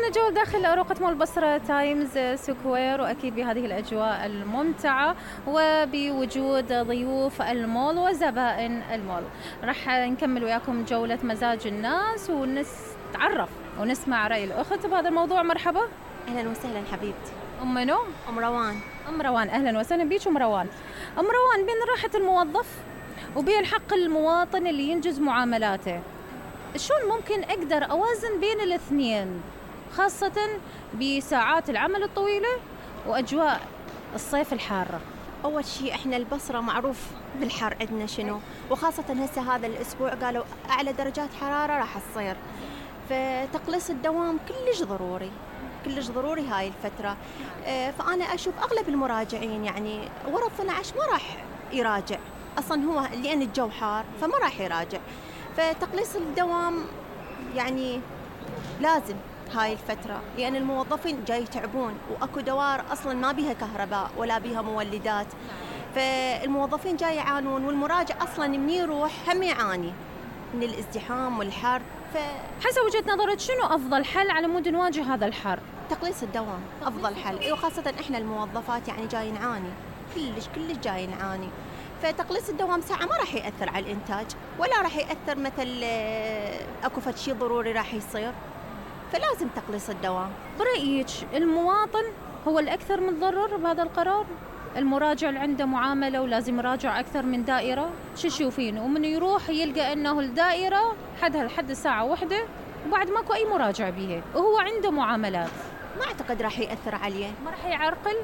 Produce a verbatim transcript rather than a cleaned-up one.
وصلنا جو داخل أروقة مول بصرة تايمز سكوير، وأكيد بهذه الأجواء الممتعة وبوجود ضيوف المول وزبائن المول. راح نكمل وياكم جولة مزاج الناس ونتعرف ونسمع رأي الأخت بهذا الموضوع. مرحبا. أهلا وسهلا حبيبتي. أم منو؟ أم روان. أم روان، أهلا وسهلا بيك أم روان. أم روان، بين راحة الموظف وبين حق المواطن اللي ينجز معاملاته، شلون ممكن أقدر أوازن بين الاثنين، خاصة بساعات العمل الطويلة وأجواء الصيف الحارة؟ أول شيء إحنا البصرة معروف بالحر عندنا شنو، وخاصة هسه هذا الأسبوع قالوا أعلى درجات حرارة راح تصير، فتقليص الدوام كلش ضروري كلش ضروري هاي الفترة. فأنا أشوف أغلب المراجعين يعني ورا اثني عشر ما راح يراجع أصلا، هو لأن الجو حار فما راح يراجع. فتقليص الدوام يعني لازم هاي الفترة، لأن الموظفين جاي يتعبون، وأكو دوار أصلاً ما بيها كهرباء ولا بيها مولدات، فالموظفين جاي يعانون، والمراجع أصلاً من يروح هم يعاني من الازدحام والحر. ف... حسب وجهة نظرك شنو أفضل حل على مود نواجه هذا الحر؟ تقليص الدوام أفضل حل، وخاصة إحنا الموظفات يعني جاي نعاني كلش كلش جاي نعاني. فتقليص الدوام ساعة ما راح يأثر على الإنتاج، ولا راح يأثر مثل أكو فد شيء ضروري راح يصير، فلازم تقليص الدوام. برأيك المواطن هو الأكثر متضرر بهذا القرار؟ المراجع اللي عنده معاملة ولازم يراجع أكثر من دائرة، شو تشوفين؟ ومن يروح يلقى أنه الدائرة حدها لحد ساعة واحدة وبعد ماكو أي مراجع بيها وهو عنده معاملات، ما أعتقد راح يأثر عليه. ما راح يعرقل